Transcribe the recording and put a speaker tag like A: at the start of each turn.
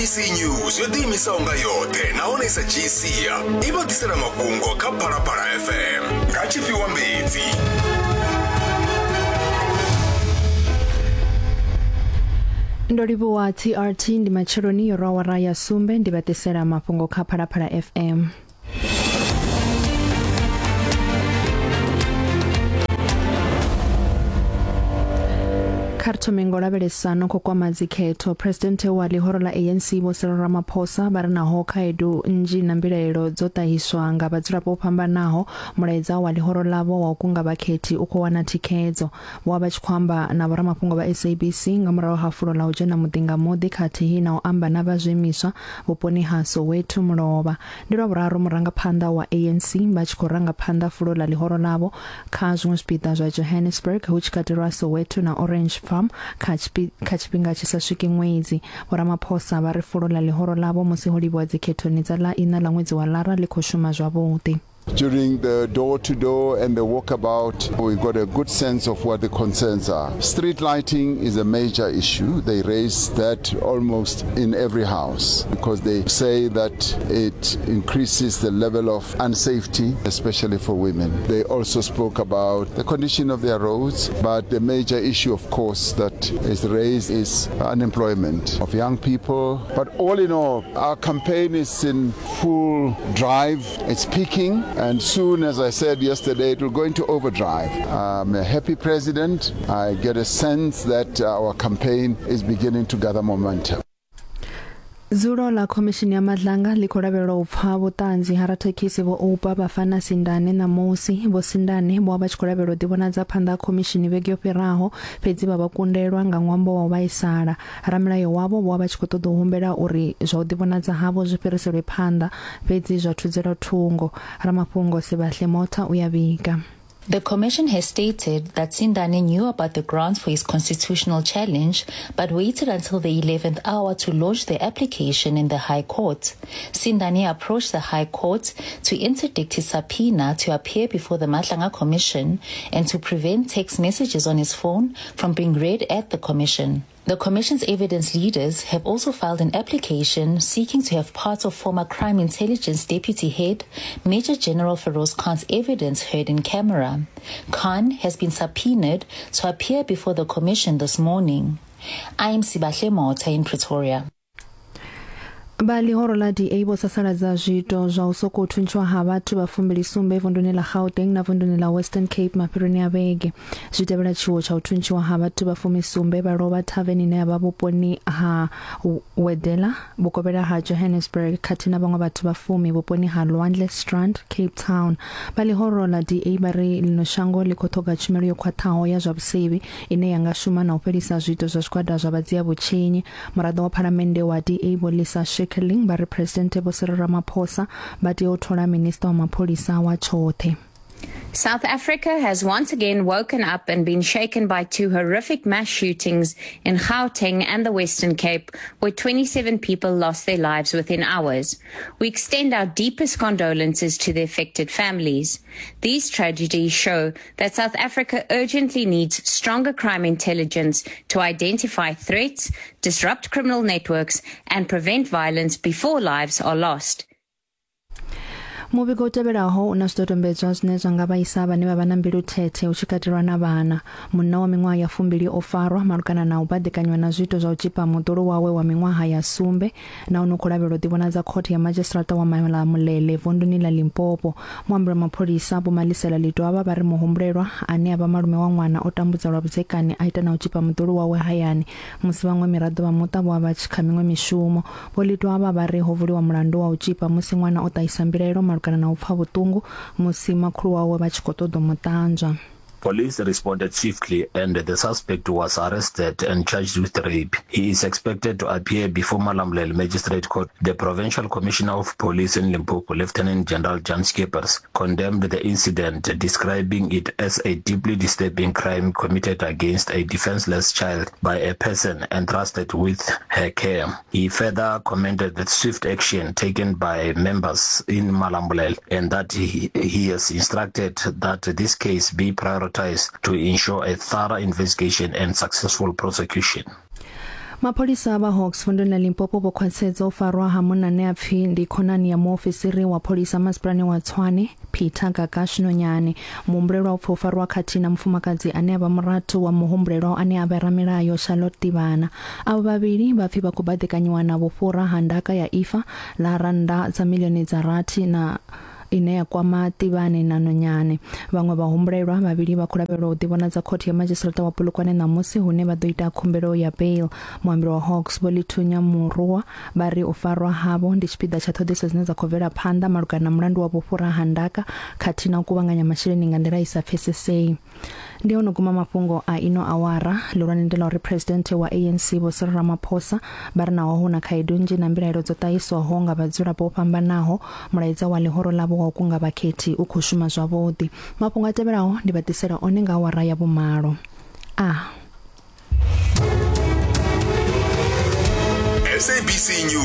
A: SABC News yo ḓiimisaho nga yoṱhe nahone sa dzhii sia i vha ḓisela mafhungo kha Phalaphala FM nga tshifhiwa mbedzi.
B: Ndo livhuwa TRT ndi matsheloni yo rwa awara ya sumbe ndi vha ḓisela mafhungo kha Phalaphala FM. Kha ri thome ngo lavhelesa no khou kwama dzikhetho. Presidenthe wa ḽihoro ḽa ANC Vho Cyril Ramaphosa vha ri naho khaedu nnzhi na mbilaelo dzo ṱahiswa nga vhadzulapo vho fhambanaho, mulaedza wa ḽihoro ḽavho wa u kunga vhakhethi u khou wana thikhedzo. Vho vha vha tshi khou amba na vhoramafhungo vha SABC nga murahu ha fulo ḽa u dzhena muḓi nga muḓi khathihi na u amba na vha zwiimiswa vhuponi ha Soweto mulovha. Ndi lwa vhuraru murangaphanḓa wa ANC vha tshi khou ranga phanḓa fulo ḽa ḽihoro ḽavho kha zwiṅwe zwipiḓa zwa Johannesburg hu tshi katelwa Soweto na Orange Farm kha kha tshifhinga tshi sa swiki ṅwedzi. Vho Ramaphosa vha ri fulo ḽa ḽihoro ḽavho musi ho livhiwa dzikhethoni dza ḽa iṋa ḽa ṅwedzi wa Lara ḽi khou shuma zwavhuḓi.
C: During the door to door and the walkabout, we got a good sense of what the concerns are. Street lighting is a major issue. They raise that almost in every house because they say that it increases the level of unsafety, especially for women. They also spoke about the condition of their roads, but the major issue, of course, that is raised is unemployment of young people. But all in all, our campaign is in full drive. It's peaking, and soon, as I said yesterday, it will go into overdrive. I'm a happy president. I get a sense that our campaign is beginning to gather momentum.
B: Dzulo ḽa Khomishini ya Madlanga ḽi khou lavhelelwa u pfa vhuṱanzi ha rathekhisi Vho Oupa Bafana Sindane ṋamusi. Vho Sindane vho vha vha tshi khou lavhelelwa u ḓivhonadza phanḓa ha khomishini vhege yo fhiraho, fhedzi vha vha kundelwa nga ṅwambo wa u vhaisala. Ramilayo wavho vho vha vha tshi khou ṱoḓa u humbela uri zwa u ḓivhonadza havho zwi fhiriselwe phanḓa, fhedzi zwa thudzelwa thungo. Ramafhungo Sibahle Motha u ya vhiga.
D: The commission has stated that Sindane knew about the grounds for his constitutional challenge, but waited until the 11th hour to launch the application in the High Court. Sindane approached the High Court to interdict his subpoena to appear before the Matlanga Commission and to prevent text messages on his phone from being read at the commission. The Commission's evidence leaders have also filed an application seeking to have parts of former Crime Intelligence Deputy Head Major General Feroz Khan's evidence heard in camera. Khan has been subpoenaed to appear before the Commission this morning. I am Sibahle Mota in Pretoria.
B: Vha ḽihoro ḽa DA vho sasaladza zwiito zwa u sokou thuntshiwa ha vhathu vha fumbili sumbe vunduni ḽa Gauteng na vunduni ḽa Western Cape mafheloni a vhege. Zwi tevhela tshiwo tsha u thuntshiwa ha vhathu vha fumisumbe vha lovha thaveni ine ya vha vhuponi ha Wedela vhukovhela ha Johannesburg khathihi na vhaṅwe vhathu vha fumi vhuponi ha Lwandle Strand, Cape Town. Vha ḽihoro ḽa DA vha ri ḽino shango ḽi khou ṱhoga tshumelo yo khwaṱhaho ya zwa vhusevhi ine ya nga shuma na u fhelisa zwiito zwa zwigwada zwa vhadzia vhutshinyi. Muraḓo wa phalamennde wa DA Vho Lisa Schickerling vha ri Phresidennde Vho Cyril Ramaphosa vha tea u thola minisiṱa wa mapholisa wa tshoṱhe.
E: South Africa has once again woken up and been shaken by two horrific mass shootings in Gauteng and the Western Cape, where 27 people lost their lives within hours. We extend our deepest condolences to the affected families. These tragedies show that South Africa urgently needs stronger crime intelligence to identify threats, disrupt criminal networks, and prevent violence before lives are lost.
B: Muvhigo u tevhelaho u na zwidodombedzwa zwine zwa nga vhaisa vhane vha vha na mbilu thethe hu tshi katelwa na vhana. Munna wa miṅwaha ya fumbili o farwa malugana na u baḓekanywa na zwiito zwa u tzhipa muḓulu wawe wa miṅwaha ya sumbe nahone u khou lavhelelwa u ḓivhonadza khothe ya madzhisiṱiraṱa wa Malamulele vunduni ḽa Limpopo. Muambi wa mapholisa Vho Malisela Ledwaba vha ri muhumbulelwa ane a vha malume wa ṅwana o tambudza lwa vhudzekani a ita na u tzhipa muḓulu wawe hayani musi vhaṅwe miraḓo vha muṱa vho vha vha tshi kha miṅwe mishumo. Vho Ledwaba vha ri ho vuliwa mulandu wa u tzhipa musi ṅwana o ṱahisa mbilaelo malugana na u pfa vhuṱungu musi makhulu wawe vha tshi khou ṱoḓa u mu ṱanzwa.
F: Police responded swiftly and the suspect was arrested and charged with rape. He is expected to appear before Malamulele Magistrate Court. The Provincial Commissioner of Police in Limpopo, Lieutenant General Jan Schippers, condemned the incident, describing it as a deeply disturbing crime committed against a defenseless child by a person entrusted with her care. He further commended the swift action taken by members in Malamulele and that he, he has instructed that this case be prioritized to ensure a thorough investigation and successful prosecution.
B: Mapholisa vha Hawks vunduni ḽa Limpopo vho khwaṱhisedza u farwa ha munna ane a pfi ndi khonani ya muofisiri wa pholisa masipalani wa Tshwane, Peter Gagash Nonyane. Muhumbulelwa u pfi o farwa khathihi na mufumakadzi ane a vha murathu wa muhumbulelwa ane a vha ramilayo Charlotte Tivhana. Avho vhavhili vha pfi vha khou baḓekanyiwa na vhufhura ha ndaka ya ifa ḽa rannda dza miḽioni dza rathi na ine ya kwama Tivhane na Nonyane. Vhaṅwe vhahumbulelwa vhavhili vha khou lavhelelwa u ḓivhonadza khothe ya madzhisiṱiraṱa wa Polokwane ṋamusi hune vha ḓo ita khumbelo ya bail. Muambeli wa Hawks Vho Lithunya Murua vha ri u farwa havho ndi tshipiḓa tsha ṱhoḓisiso dzine dza khou bvela phanḓa malugana na mulandu wa vhufhura ha ndaka khathihi na u kuvhanganya masheleni nga nḓila i sa pfesesei. Ndi ho no guma mafhungo a ino awara. Ḽihulwane ndi ḽa uri Phresidennde wa ANC Vho Cyril Ramaphosa vha ri naho hu na khaedu nnzhi na mbilaelo dzo ṱahiswaho nga vhadzulapo vho fhambanaho, mulaedza wa ḽihoro ḽavho wa u kunga vhakhethi u khou shuma zwavhuḓi. Mafhungo a tevhelaho ndi vha ḓisela one nga awara ya vhumalo. A.
A: SABC News.